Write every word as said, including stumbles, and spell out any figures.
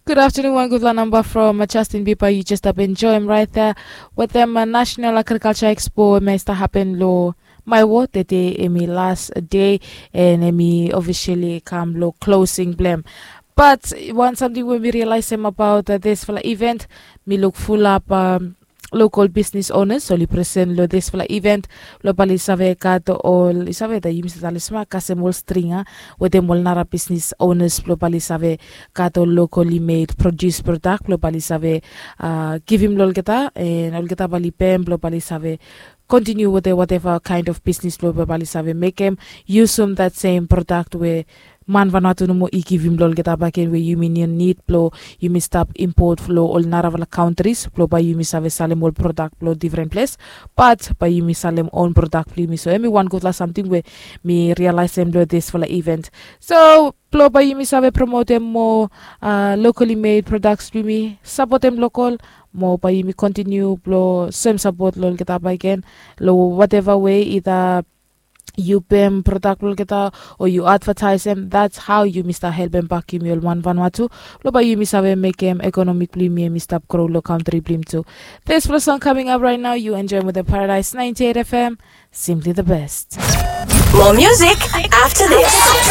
Good afternoon, wan gudfala namba from Justin Bieber. You just stap enjoy him right there with them uh, National Agriculture Expo. Em i stap happen lo my ward. Tede em i last day and em i officially come lo closing blem. But one something we mi realize him about uh, this fala event, mi look full up um, local business owners oli present lo this fala event. Lo bali save gat ol i save da yumi save tali sma kasem ol stringa wetem ol nara business owners blo bali save gat ol locally made produce product blo bali save uh, givim lo olgeta and olgeta bali pem blo bali save continue with the whatever kind of business blo bali save mekem usum that same product we man Vanuatu nomo i givim lo olgeta baken we yumi no need blo yumi stap import lo ol narafala countries blo bai yumi save salem ol product blo different place, but bai yumi salem own product blo yumi. So em i wan gudfala something we mi realize em lo this fala event. So blo bai yumi save promotem mo uh, locally made products blo yumi, supportem local mo bai yumi continue blo soem support lo olgeta baken lo whatever way, either you pem product blo olgeta or you advertise em. That's how yumi stap helpem bak yumi ol man Vanuatu blo bai yumi save mekem economic blo yumi em i stap grow lo country blo yumi tu. This fala song coming up right now, you enjoy with the Paradise ninety-eight F M. Simply the best. More music after this.